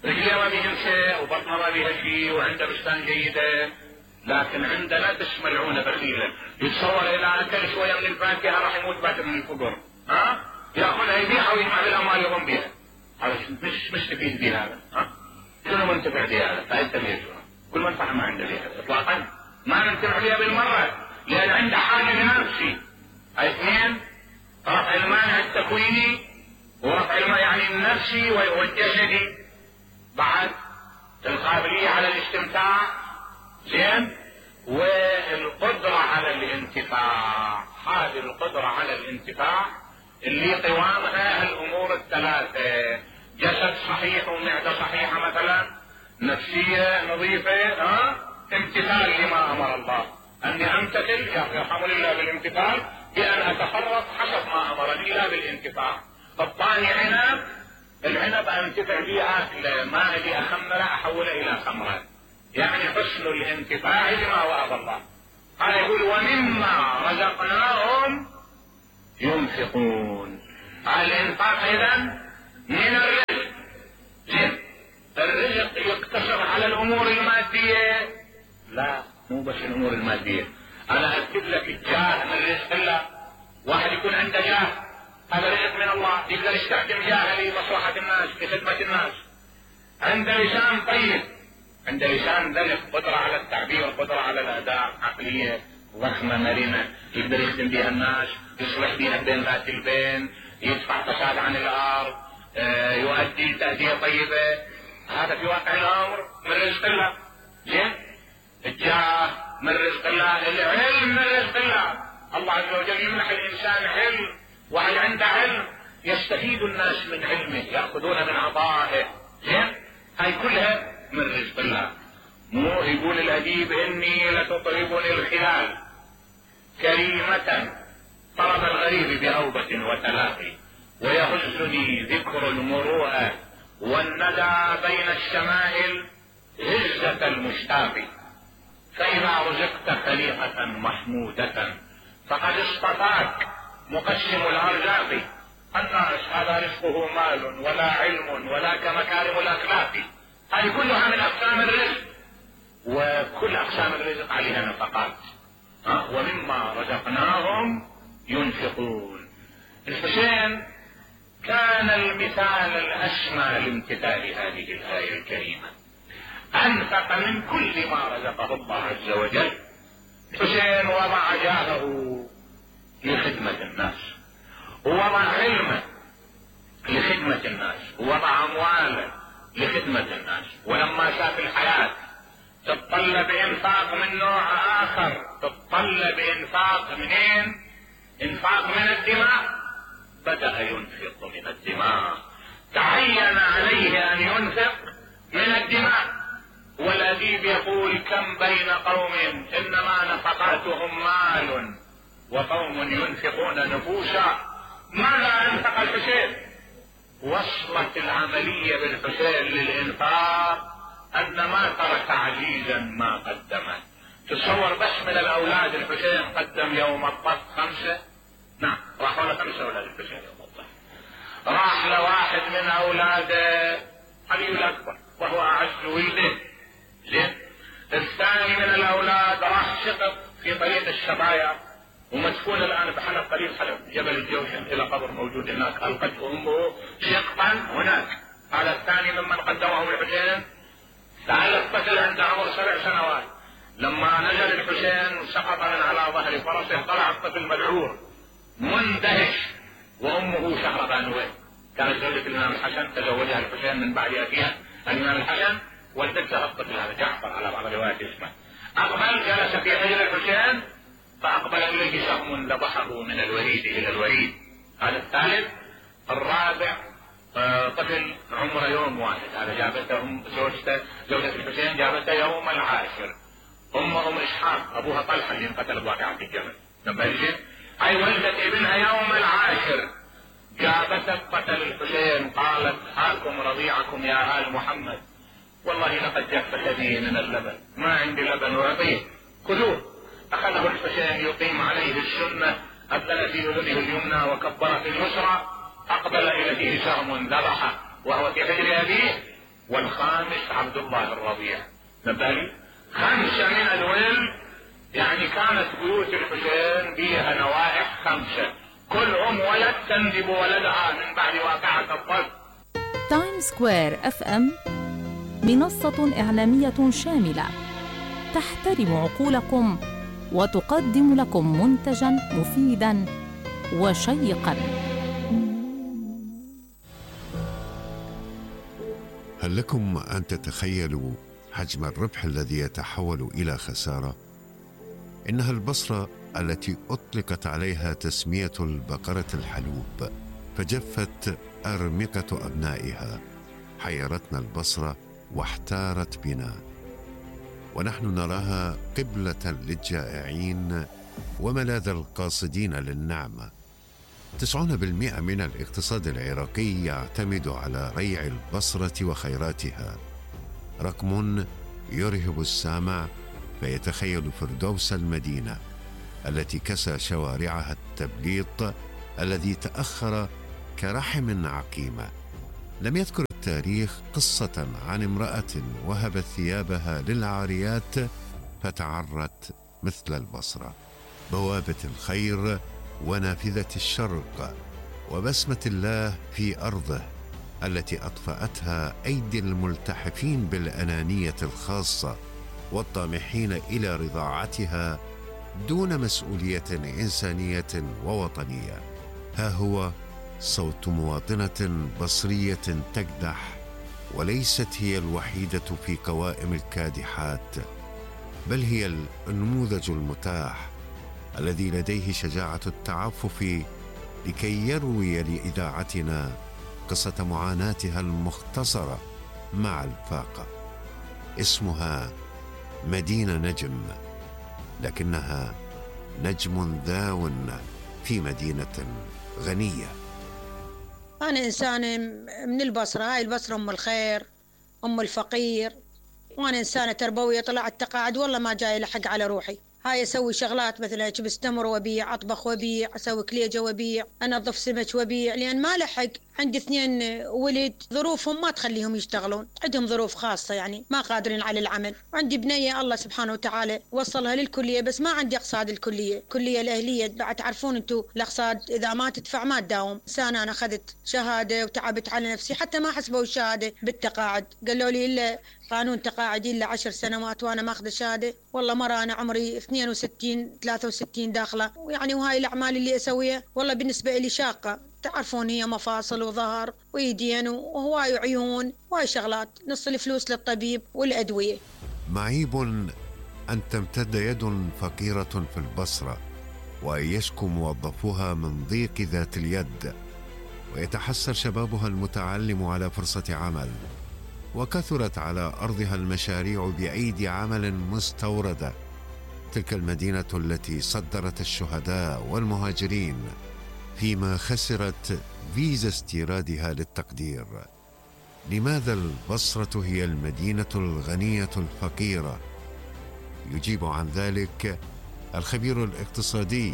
A: رجليه ما بيهم شيء وبطنه ما بيها شيء وعنده بستان جيدة، لكن عنده لا تسملعون بخيلا، يتصور اذا اكل شوية من الفاكهة راح يموت باكر من الفقر، ياخذها يبيعها ويجمع بالاموال يضم بها. هذا مش تفيد به هذا. شنو منتفع بهذا؟ فائدة بيجوها كل منفعة ما عنده بهذا اطلاقا، ما ننتفع بها بالمرة، لان عنده حاجة لنفسي. هاي 2 رفع المانع التكويني ورفع المانع يعني النفسي والجسدي. بعد القابلية على الاستمتاع، زين، والقدرة على الانتفاع. هذه القدرة على الانتفاع اللي قوامها الامور 3: جسد صحيح ومعدة صحيحة مثلا، نفسية نظيفة، امتثال لما امر الله، اني امتثل يرحمني الله بالامتثال بان اتخرط حسب ما امرني لا بالانتفاع. الثاني عنب، العنب انتفع به اكله، ما لي اخمره احوله الى خمره، يعني حسن الانتفاع لما وعد الله. قال يقول ومما رزقناهم ينفقون. الانفاق اذا من الرزق. زين، الرزق يقتصر على الامور المادية؟ لا، مو بس الامور المادية. انا اكتب لك الجاه من رزق الله. واحد يكون عنده جاه، هذا رزق من الله، يقدر يستخدم جاهه لمصلحة الناس، لخدمة الناس. عنده لسان طيب، عنده لسان ذلك، قدرة على التعبير، قدرة على الاداء، عقلية ضخمة مرنة، يقدر يخدم بها الناس، يصلح بها بين ذات البين، يدفع فساد عن الارض، يؤدي تأدية طيبة. هذا في واقع الامر من رزق الله. زين، الجاه من رزق الله، العلم من رزق الله. الله عز وجل يمنح الانسان علم، وهل عنده علم يستفيد الناس من علمه، يأخذون من عطائه. زين، هاي كلها من رزق الله. مو يقول الاديب اني لتطربني الخلال كريمة طرب الغريب بأوبة وتلاقي، ويهزني ذكر المروءة والندى بين الشمائل هزة المشتاق. فإذا رزقت خليقة محمودة فقد اصطفاك مقسم الأرزاق. الناس هذا رزقه مال ولا علم ولا كمكارم الأخلاق. هذه كلها من أقسام الرزق، وكل أقسام الرزق عليها نفقات. ومما رزقناهم ينفقون. الحسين كان المثال الأسمى لامتثال هذه الآية الكريمة، أنفق من كل ما رزقه الله عز وجل. الحسين وضع جاهه لخدمة الناس، ووضع علمه لخدمة الناس، ووضع أمواله لخدمة الناس. ولما شاف الحياة تتطلب انفاق من نوع اخر، تتطلب انفاق منين؟ انفاق من الدماء. بدأ ينفق من الدماء، تعين عليه ان ينفق من الدماء. والأديب يقول كم بين قوم انما نفقاتهم مال وقوم ينفقون نفوسا. ماذا انفق الحسين؟ وصلت العملية بالحسين للانفاق ان ما ترك عزيزا ما قدمه. تصور بس من الاولاد الحسين قدم يوم الطف 5. نعم، راح ولا 5 اولاد الحسين يوم الطف. راح لواحد من اولاده علي الاكبر وهو اعز ولده. زين، الثاني من الاولاد راح شقق في طريق الشبايا، ومدفون الان بحلب قريب حلب جبل الجوشن، الى قبر موجود هناك، القته امه شقا هناك. هذا الثاني ممن قدمه الحسين. تعال الطفل عنده عمر 7 سنوات، لما نزل الحسين سقط من على ظهر فرسه، طلع الطفل مذعور مندهش، وامه شهربانويه كانت زوجة الامام الحسن، تزوجها الحسين من بعد اخيها الامام الحسن، ولدتها الطفل هذا جعفر على بعض الروايات اسمه. اقبل جلس في حجر الحسين، فاقبل اليه سهم ذبحه من الوريد الى الوريد. هذا الثالث. الرابع طفل عمره يوم واحد، هذا جابته زوجة الحسين جابته يوم العاشر. ام اسحاق ابوها طلحه اللي انقتل بواقعة الجمل، نبهت اي ولدت ابنها يوم العاشر، جابته قتل الحسين، قالت هاكم رضيعكم يا آل محمد، والله لقد جفت بي من اللبن، ما عندي لبن اعطيه، خذوه. اخذه الحسين يقيم عليه السنه، أبدل في اذنه اليمنى وكبر في اليسرى، اقبل اليه سهم ذبحه وهو في حجر ابيه. والخامس عبد الله الرضيع، نبالي 5 من الولد، يعني كانت بيوت الحسين بها نوائح 5، كل ولد تنجب ولدها من بعد واقعة الطف.
B: تايم سكوير اف ام منصة إعلامية شاملة تحترم عقولكم وتقدم لكم منتجا مفيدا وشيقا.
C: هل لكم أن تتخيلوا حجم الربح الذي يتحول إلى خسارة؟ إنها البصرة التي أطلقت عليها تسمية البقرة الحلوب، فجفت أرمقة أبنائها. حيرتنا البصرة واحتارت بنا، ونحن نراها قبلة للجائعين وملاذ القاصدين للنعمة. 90% من الاقتصاد العراقي يعتمد على ريع البصرة وخيراتها، رقم يرهب السامع فيتخيل فردوس المدينة التي كسى شوارعها التبليط الذي تأخر كرحم عقيمة. لم يذكر التاريخ قصة عن امرأة وهبت ثيابها للعاريات فتعرت مثل البصرة، بوابة الخير ونافذة الشرق وبسمة الله في أرضه التي أطفأتها أيدي الملتحفين بالأنانية الخاصة والطامحين إلى رضاعتها دون مسؤولية إنسانية ووطنية. ها هو صوت مواطنة بصرية تكدح، وليست هي الوحيدة في قوائم الكادحات، بل هي النموذج المتاح الذي لديه شجاعة التعفف لكي يروي لإذاعتنا قصة معاناتها المختصرة مع الفاقة. اسمها مدينة نجم، لكنها نجم ذاو في مدينة غنية.
D: أنا إنسانة من البصرة، هاي البصرة أم الخير أم الفقير، وأنا إنسانة تربوية. طلعت تقاعد والله ما جاي لحق على روحي. هاي أسوي شغلات مثل أجبس تمر وبيع، أطبخ وبيع، أسوي كليجة وبيع، أنظف سمك وبيع، لأن ما لحق. عندي 2 ولد ظروفهم ما تخليهم يشتغلون، عندهم ظروف خاصة يعني ما قادرين على العمل. وعندي بنية الله سبحانه وتعالى وصلها للكلية، بس ما عندي أقصاد الكلية، كلية الأهلية. بعد تعرفون أنتوا الأقصاد إذا ما تدفع ما تداوم. سنة أنا أخذت شهادة وتعبت على نفسي، حتى ما حسبوا الشهادة بالتقاعد، قالوا لي إلا قانون تقاعدي إلا 10 سنوات، وأنا ماخذ شهادة. والله مرة أنا عمري 62 63 داخلة، ويعني وهاي الأعمال اللي أسويها والله بالنسبة لي شاقة. تعرفون هي مفاصل وظهر ويدين وهواي عيون وهاي شغلات، نص الفلوس للطبيب والأدوية.
C: معيب أن تمتد يد فقيرة في البصرة وأن يشكو موظفوها من ضيق ذات اليد، ويتحسر شبابها المتعلم على فرصة عمل، وكثرت على أرضها المشاريع بأيدي عمل مستوردة. تلك المدينة التي صدرت الشهداء والمهاجرين فيما خسرت فيزا استيرادها للتقدير. لماذا البصرة هي المدينة الغنية الفقيرة؟ يجيب عن ذلك الخبير الاقتصادي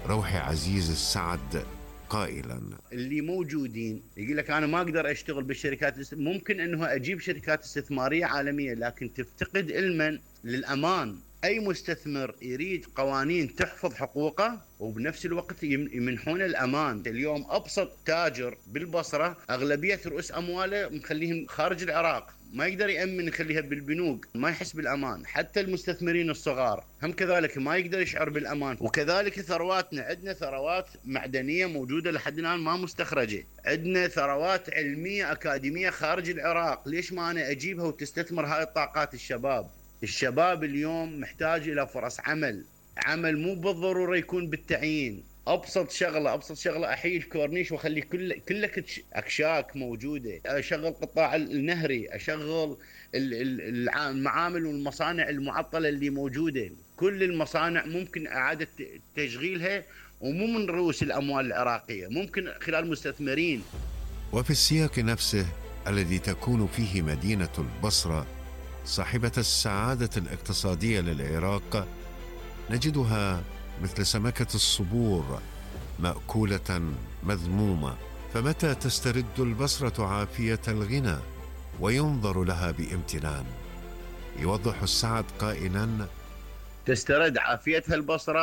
C: روحي عزيز السعد قائلا:
E: اللي موجودين يقول لك أنا ما أقدر أشتغل بالشركات، ممكن أنه أجيب شركات استثمارية عالمية، لكن تفتقد علما للأمان. أي مستثمر يريد قوانين تحفظ حقوقه وبنفس الوقت يمنحون الأمان. اليوم أبسط تاجر بالبصرة أغلبية رؤوس أمواله مخليهم خارج العراق، ما يقدر يأمن يخليها بالبنوك، ما يحس بالأمان. حتى المستثمرين الصغار هم كذلك ما يقدر يشعر بالأمان. وكذلك ثرواتنا، عندنا ثروات معدنية موجودة لحد الآن ما مستخرجة، عندنا ثروات علمية أكاديمية خارج العراق، ليش ما أنا أجيبها وتستثمر هاي الطاقات؟ الشباب اليوم محتاج إلى فرص عمل مو بالضرورة يكون بالتعيين. أبسط شغلة أحيي الكورنيش وأخلي كلك أكشاك موجودة، أشغل قطاع النهري، أشغل المعامل والمصانع المعطلة اللي موجودة. كل المصانع ممكن إعادة تشغيلها، ومو من رؤوس الأموال العراقية، ممكن خلال مستثمرين.
C: وفي السياق نفسه الذي تكون فيه مدينة البصرة صاحبة السعادة الاقتصادية للعراق، نجدها مثل سمكة الصبور مأكولة مذمومة. فمتى تسترد البصرة عافية الغنى وينظر لها بامتنان؟ يوضح السعد قائلا:
E: تسترد عافيتها البصرة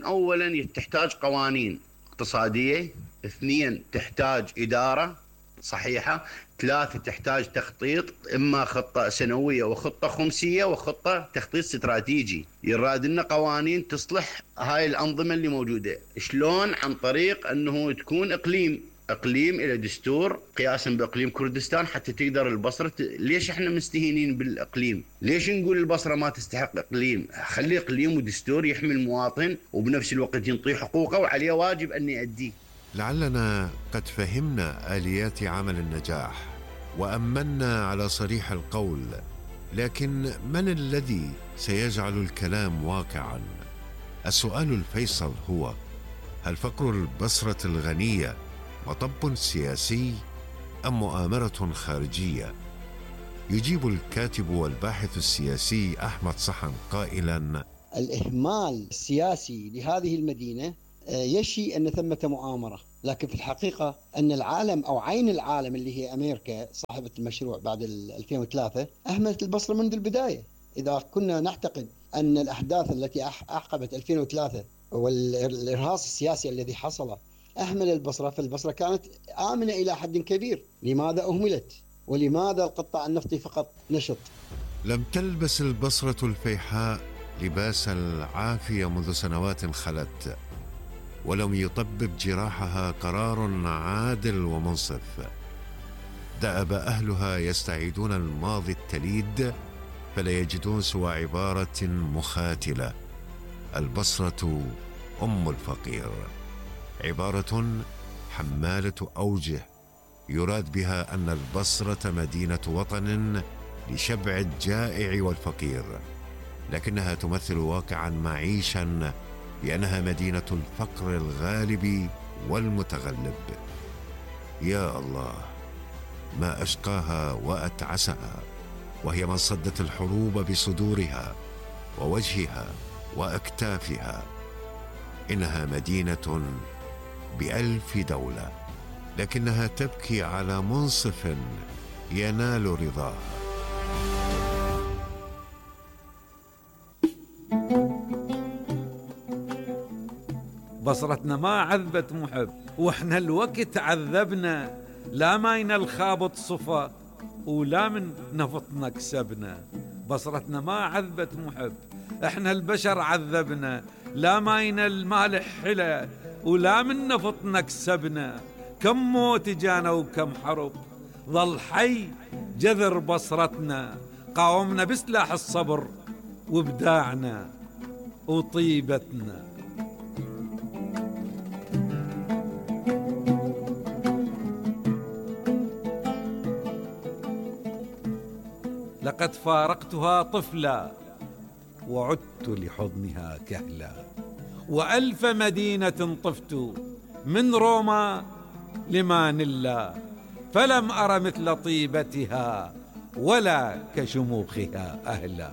E: أولا تحتاج قوانين اقتصادية، 2 تحتاج إدارة صحيحة، 3 تحتاج تخطيط، إما خطة سنوية وخطة خمسية وخطة تخطيط استراتيجي. يراد لنا قوانين تصلح هاي الأنظمة اللي موجودة. شلون؟ عن طريق أنه تكون إقليم إلى دستور قياسا بإقليم كردستان، حتى تقدر البصرة ليش إحنا مستهينين بالإقليم؟ ليش نقول البصرة ما تستحق إقليم؟ خلي إقليم ودستور يحمي المواطن وبنفس الوقت ينطيه حقوقه وعليه واجب أن يؤديه.
C: لعلنا قد فهمنا آليات عمل النجاح وأمنا على صريح القول، لكن من الذي سيجعل الكلام واقعا؟ السؤال الفيصل هو: هل فقر البصرة الغنية مطب سياسي أم مؤامرة خارجية؟ يجيب الكاتب والباحث السياسي أحمد صحن قائلا:
F: الإهمال السياسي لهذه المدينة يشي أن ثمة مؤامرة، لكن في الحقيقة أن العالم أو عين العالم اللي هي أمريكا صاحبة المشروع بعد 2003 أهملت البصرة منذ البداية. إذا كنا نعتقد أن الأحداث التي أعقبت 2003 والإرهاص السياسي الذي حصل أهمل البصرة، فالبصرة كانت آمنة إلى حد كبير. لماذا أهملت؟ ولماذا القطاع النفطي فقط نشط؟
C: لم تلبس البصرة الفيحاء لباس العافية منذ سنوات خلت، ولم يطبب جراحها قرار عادل ومنصف. دأب أهلها يستعيدون الماضي التليد فلا يجدون سوى عبارة مخاتلة: البصرة أم الفقير. عبارة حمالة أوجه يراد بها أن البصرة مدينة وطن لشبع الجائع والفقير، لكنها تمثل واقعا معيشا لأنها مدينة الفقر الغالب والمتغلب. يا الله، ما أشقاها وأتعسها، وهي من صدت الحروب بصدورها ووجهها وأكتافها. إنها مدينة ب1000 دولة، لكنها تبكي على منصف ينال رضاها.
G: بصرتنا ما عذبت محب، واحنا الوقت عذبنا، لا ماينا الخابط صفا ولا من نفطنا كسبنا. بصرتنا ما عذبت محب، احنا البشر عذبنا، لا ماينا المالح حلا ولا من نفطنا كسبنا. كم موت جانا وكم حرب، ظل حي جذر بصرتنا. قاومنا بسلاح الصبر وابداعنا وطيبتنا. لقد فارقتها طفلا وعدت لحضنها كهلا، و1000 مدينة طفت من روما لمانيلا، فلم أر مثل طيبتها ولا كشموخها أهلا.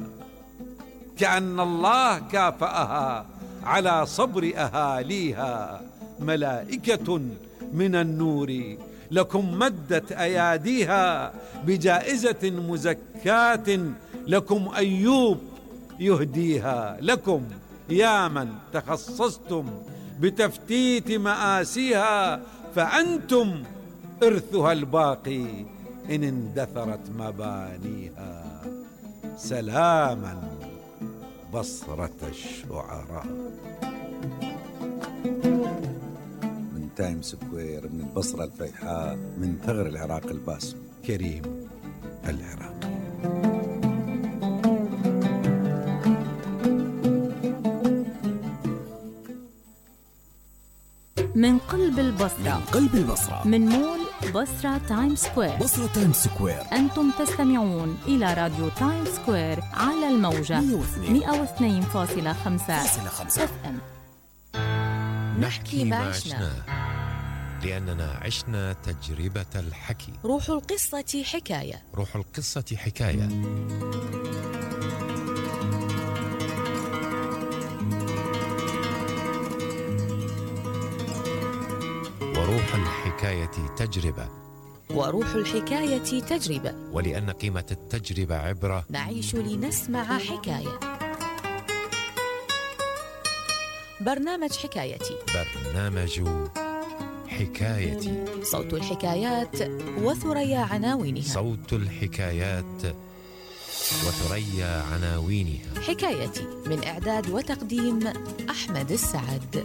G: كأن الله كافأها على صبر أهاليها، ملائكة من النور لكم مدت أياديها، بجائزة مزكاة لكم أيوب يهديها. لكم يا من تخصصتم بتفتيت مآسيها، فأنتم إرثها الباقي إن اندثرت مبانيها. سلاما بصرة الشعراء. من تايم سكوير، من البصرة الفيحاء، من ثغر العراق الباسم، كريم العراقي.
B: من قلب البصرة،
H: من قلب البصرة،
B: من مول بصرة تايم سكوير،
H: بصرة تايم سكوير.
B: أنتم تستمعون إلى راديو تايم سكوير على الموجة 102.5 FM.
I: نحكي ما عشناه لأننا عشنا تجربة الحكي.
J: روح القصة حكاية.
I: روح القصة حكاية. وروح الحكاية تجربة.
J: وروح الحكاية تجربة.
I: ولأن قيمة التجربة عبرة،
J: نعيش لنسمع حكاية. برنامج حكايتي.
I: برنامج حكايتي.
J: صوت الحكايات وثريا عناوينها.
I: صوت الحكايات وثريا عناوينها.
J: حكايتي من إعداد وتقديم أحمد السعد.